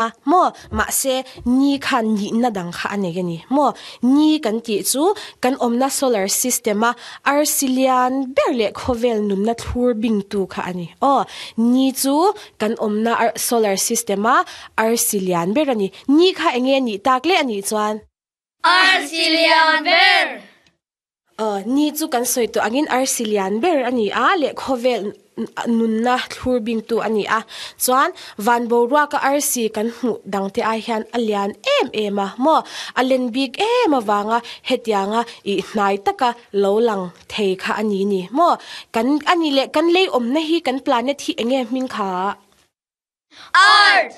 A, maw? Mahse, ni khan nihna dang kha a nei a ni maw? Ni kan tih chu kan awmna solar system-a arsi lian ber leh khawvel nunna thlur bingtu kha a ni. Aw, ni chu kan awmna solar system-a arsi lian ber a ni. Ni kha eng nge nih tak leh a nih chuan? Arsi lian ber! Aw, ni chu kan sawi tawh angin arsi lian ber a ni a, leh khawvel nunna thlur bingtu a ni a. Chuan van boruaka arsi kan hmuh dangte ai hian a lian em em a maw? A len bik em avanga hetianga ih hnai taka lo lang thei kha a ni ni maw? Kan a ni leh kan lei awmna hi kan planet hi enge hming kha? Earth!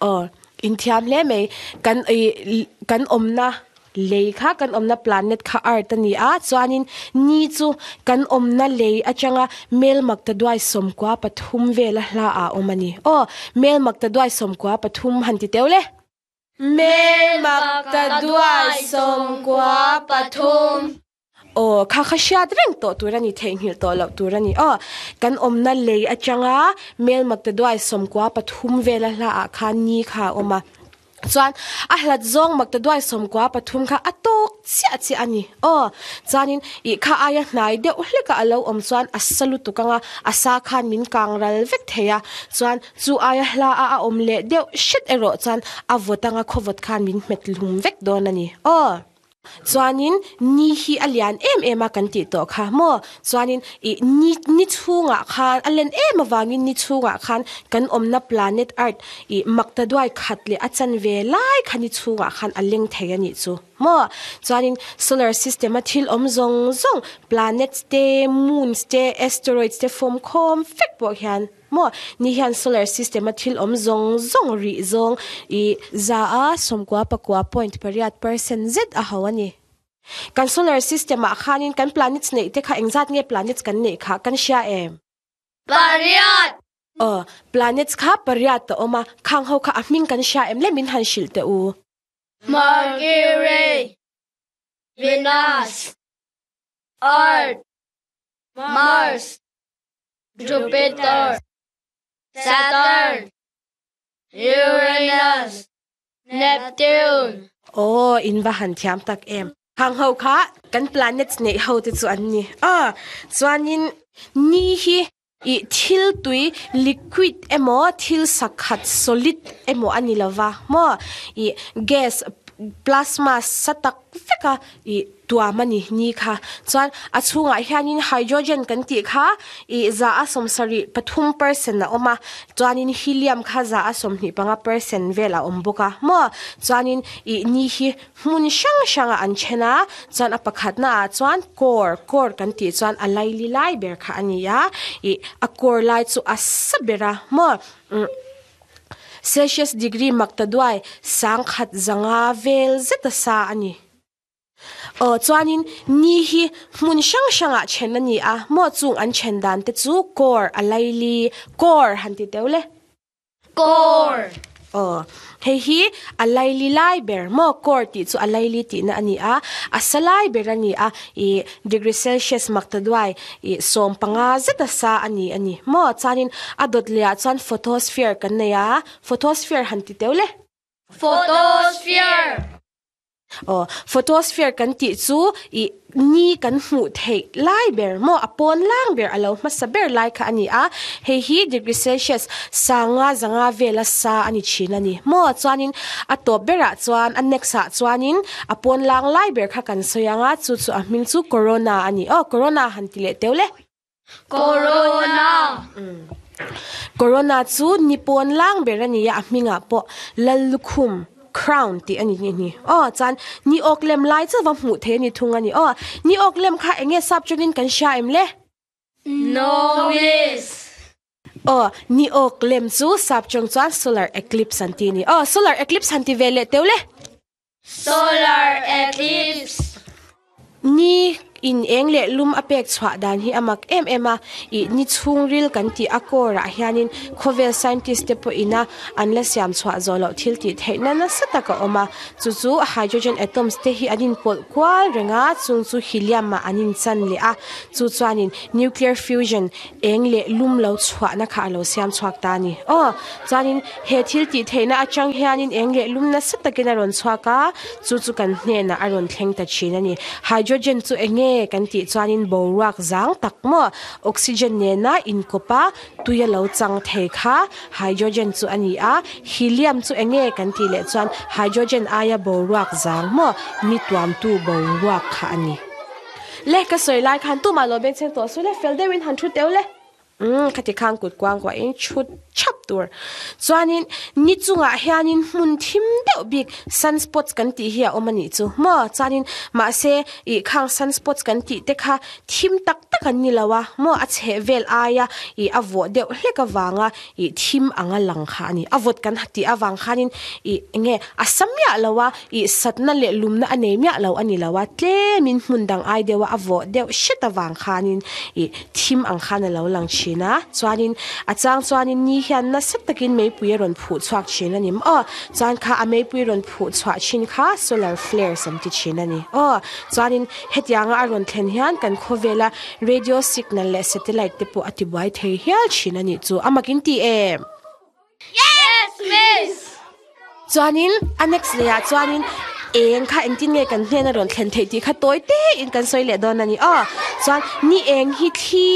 Aw, inthiam hle mai. Kan ih kan awmna lei kha kan awmna planet kha earth a ni a, chuanin ni chu kan awmna lei atanga melmakta duai sawmkua pathum vela hla ah a awm a ni. Aw, melmakta duai sawmkua pathum han ti teuh le. Melmakta duai sawmkua pathum. Aw, kha kha hriat reng tawh tur a ni, theihnghilh tawh loh tur a ni. Aw, kan awmna lei atanga Melmakta duai sawmkua pathum vela hlaah khan ni kha a awm a. Chuan a hlat zawng Makta duai sawmkua pathum kha a tawk chiah chiah a ni. Aw, chuanin ih kha aia hnai deuh hlekah a lo awm chuan a sa lutuk anga a sa khan min kang ral vek thei a. Chuan chu aia hla a a awm leh deuh hret erawh chuan a vawt anga khawvawt khan min hmet hlum vek dawn a ni. Aw. Chuanin ni hi a lian em em a kan tih tawh kha maw? Chuanin ih ni ni chhungah khan a len em avangin ni chhungah khan kan awmna planet earth ih makta duai khat leh a chanve lai kha ni chhungah khan a leng thei a nih chu maw? Chuanin solar system a thil awm zawng zawng planets te, moons te, asteroids te fawm khawm vek pawh hian Maw? Ni hian solar system a thil awm zawng zawng rih zawng i za a sawmkua pakua point pariat percent zet a ho a ni. Kan solar system ah khanin kan planets neih te kha engzat nge planets kan neih kha kan hria em? Pariat! Aw, planets kha pariat a awm a, khang ho kha a hming kan hria em le min han hrilh teh u. Mercury, Venus, Earth, Mars, Jupiter, Saturn, Uranus, Neptune. Aw, in va han thiam tak em. Khang ho kha kan planets neih ho te chu an ni a, chuanin ni hi ih thil tui liquid emaw thil sakhat solid emaw a ni lova maw ih gas plasma sa tak vek a ih tuam a ni ni kha. Chuan a chhungah hianin hydrogen kan tih kha ih za a sawmsarih pathum percent a awm a, chuanin helium kha za a sawmhnih panga percent vel a awm bawk a maw. Chuanin ih ni hi hmun hrang hrangah an then a, chuan a pakhatna ah chuan core, core kan tih chuan a laili lai ber kha a ni a, ih a core lai chu a sa ber a maw. Umm Celsius degree makta duai sangkhat zanga vel zet a sa a ni. Aw chuanin ni hi hmun hrang hrangah then a ni a, maw chung an then dan te chu core a laili, core han ti teuh le. Core. Aw hei hi a laili lai ber maw core tih chu a laili tihna a ni a, a sa lai ber a ni a, ih degree celsius makta duai ih 15 zet a sa a ni a ni maw chuanin a dawt leh ah chuan photosphere kan nei a, photosphere han ti teuh le. Photosphere. Aw, photosphere kan tih chu ih ni kan hmuh theih lai ber maw a pawn lang ber a lo hmasa ber lai kha a ni a, hei hi degree celsius sanga zanga vela sa a ni thin a ni maw chuanin a tawp berah chuan a next ah chuanin a pawn lang lai ber kha kan sawi ang a chu chu a hming chu corona a ni aw corona han ti leh teuh le. Corona. Corona chu ni pawn lang ber a ni a, a hmingah pawh Lallukhum, crown, tih a ni ni ni. Aw, chuan ni awk lem lai chu va hmuh theih a ni thung a ni. Aw, ni awk lem kha eng nge sap chungin kan hria em le? No miss. Aw, ni awk lem chu sap chawng chuan solar eclipse an ti a ni. Aw, solar eclipse han ti ve leh teuh le. Solar eclipse. Ni In eng leh lum a pek chhuah dan hi a mak em em a, ih ni chhungril kan tih a core ah hianin khawvel scientist te pawh ina an la siam chhuah zawh loh thil tih theihna nasa tak a awm a, chu chu hydrogen atoms te hi an inpawlh kual reng a, chung chu helium ah an inchan leh a, chu chuanin nuclear fusion eng leh lum lo chhuahna kha a lo siam chhuak ta a ni. Aw, chuanin he thil tih theihna atang hianin eng leh lum nasa takin a rawn chhuak a, chu chu kan hnenah a rawn thleng ta thin a ni. Hydrogen chu eng nge kan tih chuanin boruak zang tak maw oxygen nena inkawp a tui a lo chang thei kha hydrogen chu a ni a, helium chu eng nge kan tih leh chuan hydrogen aia boruak zang maw ni tuamtu boruak kha a ni. Le ka sawi lai khan tumah lo beng chheng tawh su le, fel deuhin han thu teu le. Umm khati khan kut kuang kuahin chhut chhap tur. Chuanin ni chungah hianin hmun thim deuh bik sunspots kan tih hi a awm a nih chu maw? Chuanin mahse ih khang sunspots kan tih te kha thim tak tak an ni lo a maw? A chheh vel aia ih a vawh deuh hlek avanga ih thim anga lang kha a ni. A vawt kan tih avang khanin ih enge a sa miah lo a, ih satna leh lumna a nei miah lo a ni lo a, tlemin hmun dang ai deuha a vawh deuh hret avang khanin ih thim ang khan a lo lang thin a. Chuanin a chang chuanin ni hian nasa takin meipui a rawn phuh chhuak thin a ni maw? Chuan kha a meipui rawn phuh chhuah thin kha solar flares an ti thin a ni aw. Chuanin hetianga a rawn thlen hian kan khawvela Radio signal leh satellite te pawh a ti buai thei hial thin a nih chu. A mak in ti em? Yes, miss! Chuanin a next leh ah chuanin eng kha engtin nge kan hnen a rawn thlen theih tih kha tawi te in kan sawi leh dawn a ni aw. Chuan ni eng hi thli,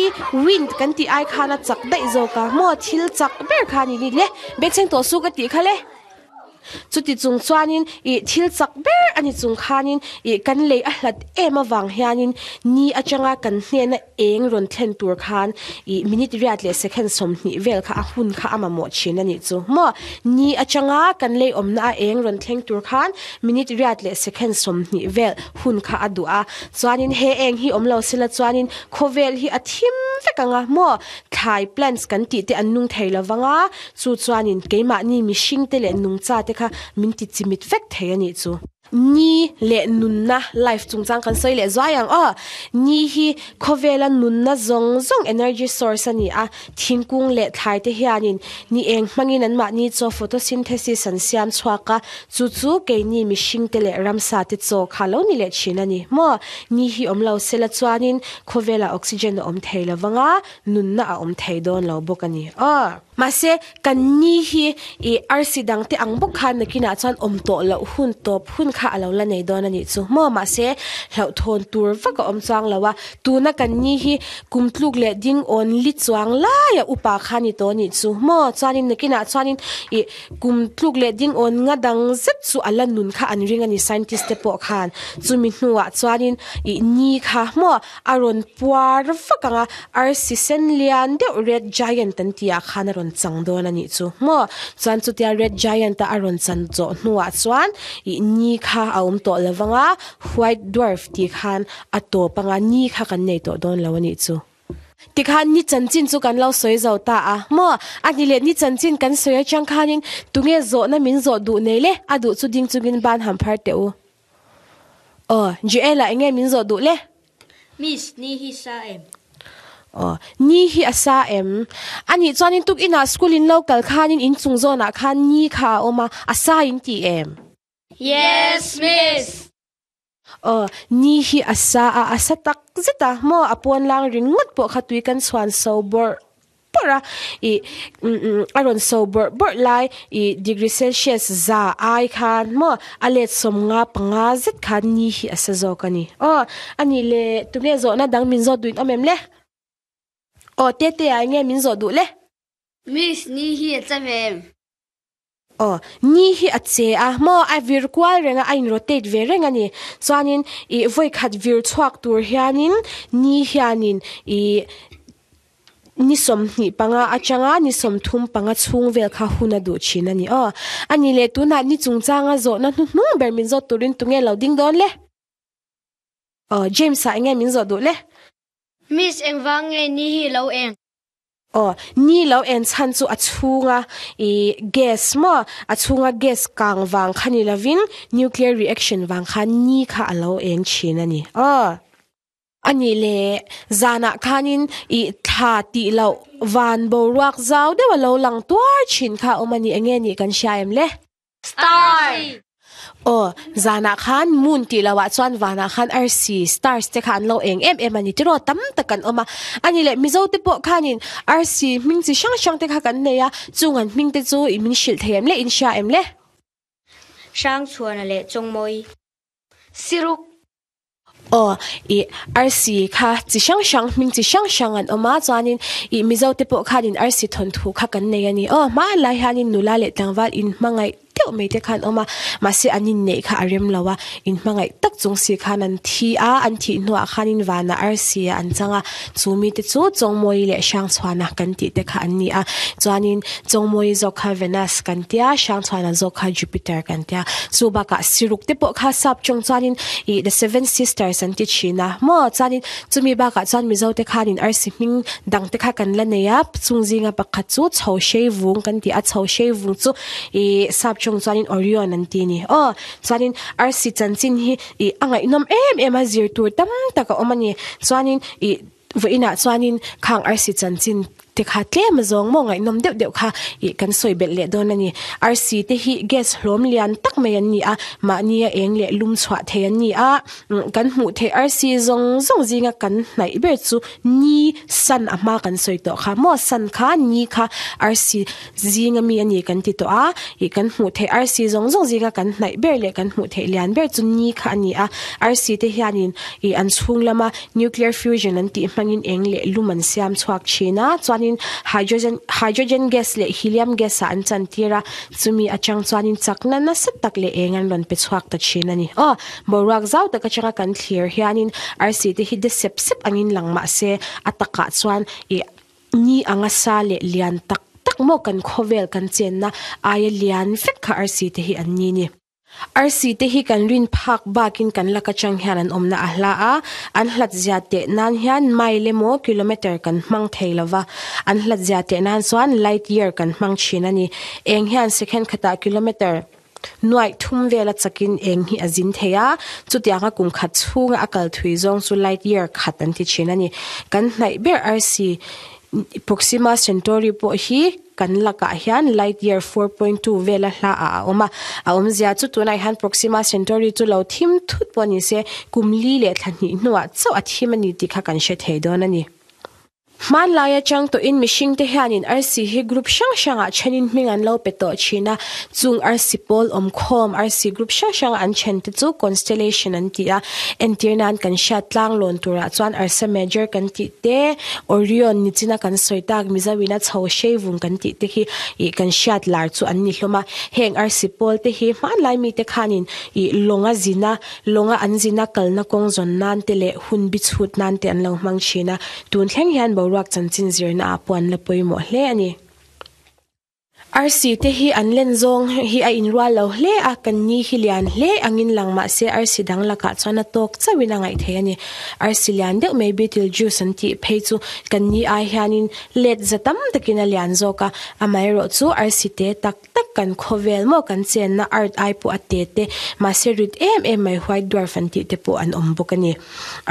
wind, kan tih ai khan a chak daih zawk a maw thil chak ber kha a ni ni le. Bengchheng tawh su ka tih kha le. Chuti chung chuanin ih thil chak ber a ni chung khanin ih kan lei a hlat em avang hianin ni atanga kan hnena eng rawn thlen tur khan ih minute riat leh second 20 vel kha a hun kha a mamawh thin a nih chu maw. Ni atanga kan lei awmna a eng rawn thleng tur khan minute riat leh second 20 vel hun kha a duh a. Chuanin he eng hi awm lo sela chuanin khawvel hi a thim vek ang a maw. Thlai plants kan tih te an nung thei lovang a. Chu chuanin keimahni mihringte leh nungchate kha min ti chimit vek thei a nih chu. Ni leh nunna, life, chungchang kan sawi leh zuai ang aw. Ni hi khawvela nunna zawng zawng energy source a ni a, thingkung leh thlaite hianin ni eng hmangin anmahni chaw photosynthesis an siam chhuak a, chu chu keini mihringte leh ramsate chaw kha lo ni leh thin a ni maw. Ni hi awm lo sela chuanin khawvelah oxygen a awm thei lovang a, nunna a awm thei dawn lo bawk a ni aw. Mahse, kan ni hi i arsi dangte ang bawk khan nakinah chuan awm tawh loh hun tawp hun kha a lo la nei dawn a nih chu maw? Mahse, hlauhthawn tur vak a awm chuang lo a, tuna kan ni hi kum tluk leh ding awn li chuang laia upa kha ni tawh a nih chu maw? Chuanin nakinah chuanin i kum tluk leh ding awn nga dang zet chu a la nun kha an ring a ni scientist te pawh khan. Chumi hnuah chuanin i ni kha maw? A rawn puar vak ang a, arsi sen lian deuh red giant an tih ah khan a rawn chang dawn a nih chu maw? Chuan chutia red giant a a rawn chan zawh hnuah chuan ih ni kha a awm tawh lo vang a, white dwarf tih khan a tawp ang a, ni kha kan nei tawh dawn lo a nih chu. Tikhan ni chanchin chu kan lo sawi zo ta a maw? A ni leh ni chanchin kan sawi atang khanin tunge zawhna min zawh duh nei le? A duh chu ding chungin ban han phar teh u. Aw, Joel-a enge min zawh duh le? Miss, ni hi sa em? Aw, ni hi a sa em? Anih chuanin tukinah school in lo kal khanin inchung zawnah khan ni kha a awm a, a sa in ti em? Yes, Miss! Aw, ni hi a sa a, a sa tak zet a, maw a pawnlang ringawt pawh kha tui kan chhuan so bawrh bawrh a, ih a rawn so bawrh bawrh lai ih degree celsius za ai khan maw a let 55 zet khan ni hi a sa zawk a ni. Aw a nih le tunge zawhna dang min zawt duhin awm em le? Aw Tete ah enge min zawh duh le? Miss ni hi a che ve em? Aw ni hi a che a maw a vir kual reng a a in rotate ve reng a ni. Chuanin ih vawi khat vir chhuak tur hianin ni hianin ih Ni 25 atanga ni 35 chhung vel kha hun a duh thin a ni aw. A ni leh tunah ni chungchanga zawhna hnuhnung ber min zawt turin tunge lo ding dawn le? Aw, James-a enge min zawh duh le? Miss, engvang nge ni hi lo eng? Aw, ni lo en chhan chu a chhunga i gas maw? A chhunga gas kang vang kha ni lovin nuclear reaction vang khan ni kha a lo eng thin a ni aw. A nih le, zanah khanin i thla tih loh van boruak zau deuh a lo lang tuar thin kha a awm a ni, enge nih kan hria em le? Star! Aw, zanah khan moon tih loh ah chuan vanah khan arsi, stars, te kha an lo eng em em a ni tiraw, tam tak an awm a. A nih le, Mizo te pawh khanin arsi hming chi hrang hrang te kha kan nei a, chung an hming te chu i min hrilh thei em le, in hria em le? Hrangchhuana leh Chawngmawi. Siruk. Aw, i arsi kha chi hrang hrang, hming chi hrang hrang an awm a, chuanin i Mizo te pawh khanin arsi thawnthu kha kan nei a ni. Aw, hmanlai hianin nula leh tlangval inhmangaih deuh mai te kha an awm a, mahse an inneih kha a rem lo a, inhmangaih tak chung si khan an thi a, an thih hnuah khanin vanah arsi ah an chang a, chu mite chu Chawngmawi leh Hrangchhuana kan tih te kha an ni a, chuanin Chawngmawi zawk kha Venus kan tia, Hrangchhuana zawk kha Jupiter kan tia. Chu bakah Siruk te pawh kha sap tawng chuanin ih The Seven Sisters an ti thin a maw? Chuanin chumi bakah chuan Mizo te khanin arsi hming dang te kha kan la nei a, chung zinga pakhat chu Chho Hrei Vung kan ti a, Chho Hrei Vung chu ih sap tawng chuanin Orion an ti a ni. Aw, chuanin arsi chanchin hi ih a ngaihnawm em em a, zir tur tam tak a awm a ni. Chuanin ih Vawiinah chuanin khang arsi chanchin te kha tlem azawng maw ngaihnawm deuh deuh kha ih kan sawi belh leh dawn a ni. Arsi te hi gas hlawm lian tak mai an ni a, mahni a eng leh lum chhuah thei an ni a, kan hmuh theih arsi zawng zawng zinga kan hnaih ber chu ni, sun, a hma kan sawi tawh kha maw, sun kha ni kha arsi zinga mi a ni kan ti tawh a, ih kan hmuh theih arsi zawng zawng zinga kan hnaih ber leh kan hmuh theih lian ber chu ni kha a ni a, arsi te hianin ih an chhung lama Nuclear fusion an tih hmangin eng leh lum an siam chhuak thin a, chuanin hydrogen hydrogen gas leh helium gas ah an chantir a, chumi atang chuanin chakna nasa tak leh eng an rawn pe chhuak ta thin a ni. Aw, boruak zau tak atanga kan thlir hianin arsi te hi de sep sep angin lang mah se a takah chuan ih ni anga sa leh lian tak tak maw kan khawvel kan chenna aia lian vek kha arsi te hi an ni ni. Arsi te hi kan rin phak bakin kan lak atang hian an awmna a hla a, an hlat zia teh nan hian mile emaw kilometer kan hmang thei lo va, an hlat zia teh nan chuan light year kan hmang thin a ni. Eng hian second khatah kilometer nuaih thum vela chakin eng hi a zin thei a, chutianga kum khat chhunga a kal thui zawng chu light year khat an ti thin a ni. Kan hnaih ber arsi Proxima Centauri pawh hi kan lakah hian light year 4.2 vela hla ah a awm a, a awmzia chu tunah hian Proxima Centauri chu lo thim thut pawh ni se kum li leh thla hnih hnuah chauh a thim a ni tih kha kan hre thei dawn a ni. Hmanlai atang tawhin mihringte hianin arsi hi group hrang hrangah thenin hming an lo pe tawh thin a, chung arsi pawl awmkhawm arsi group hrang hranga an thente chu constellation an ti a, entir nan kan hriat tlanglawn turah chuan Ursa Major kan tih te, Orion ni china kan sawi tak Mizo in a chho hrei vung kan tih te khi ih kan hriat lar chu an ni hlawm a. Heng arsi pawl te hi hmanlai mite khanin ih lawnga zina, lawnga an zina kalna kawng zawn nan te leh hun bi chhut nan te an lo hmang thin a. Tun thleng hian boruak chanchin zirna ah pawh an la pawimawh hle a ni. Arsi te hi an len zawng hi a inrual lo hle a, kan ni hi lian hle angin lang mah se arsi dang lakah chuan a tawk chauhin a ngaih theih a ni. Arsi lian deuh mai Betelgeuse an tih phei chu kan ni ai hianin let za tam takin a lian zawk a, amaherawh chu arsi te tak tak kan khawvel maw kan chenna Earth ai pawh a te te mahse rit em em mai White Dwarf an tih te pawh an awm bawk a ni.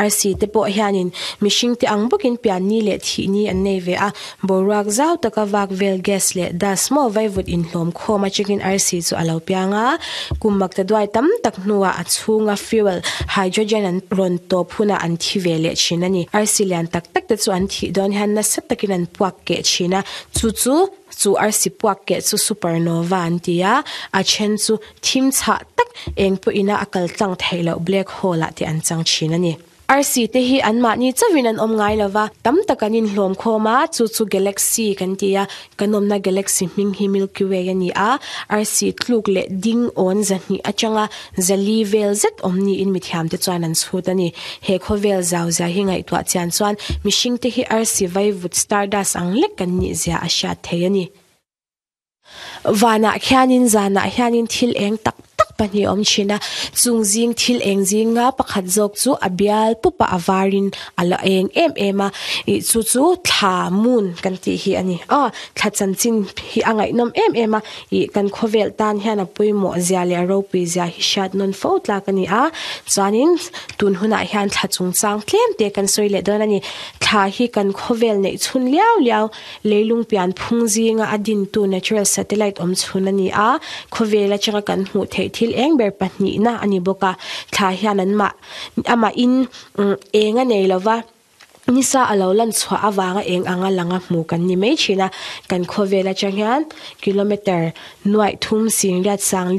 Arsi te pawh hianin mihring te ang bawkin pianni leh thihni an nei ve a, boruak zau taka vak vel gas leh dust maw vaivut inhlawm khawm atangin arsi chu a lo piang a, kum makta duai tam tak hnuah a chhunga fuel, hydrogen an rawn tawp hunah an thi ve leh thin a ni. Arsi lian tak tak te chu an thih dawn hian nasa takin an puak keh thin a, chu chu chu arsi puak keh chu supernova an ti a, a then chu Thim chhah tak eng pawhin a kal tlang theih loh black hole ah te an chang thin a ni. Arsi te hi anmahni chauhin an awm ngai lova, tam tak an inhlawm khawm a, chu chu galaxy kan ti a, kan awmna galaxy hming hi Milky Way a ni a, arsi tluk leh ding awn zahnih atanga zali vel zet awm niin mithiam te chuan an chhut a ni. He khawvel zau zia hi ngaihtuah chian chuan mihring te hi arsi vaivut stardust ang lek kan nih zia a hriat thei a ni. Vanah khianin zanah hianin thil eng tak tak pahnih a awm thin a chung zing thil eng zinga pakhat zawk chu a bial pup a a varin a la eng em em a ih chu chu thla moon kan tih hi a ni aw thla chanchin hi a ngaihnawm em em a ih kan khawvel tan hian a pawimawh zia leh a ropui zia hi hriat nawn fo tlak a ni a chuanin tun hunah hian thla chungchang tlem te kan sawi leh dawn a ni thla hi kan khawvel neih chhun liau liau leilung pian phung zinga a dintu natural satellite awm chhun a ni a khawvel atanga kan hmuh theih thil eng ber pahnihna a ni bawk a thla hian an mah amah in eng a nei lova nisa a lo lan chhuah avanga eng anga langa hmu kan ni mai thin a kan khawvel atang hian kilometer nuaih thum sing riat sang li.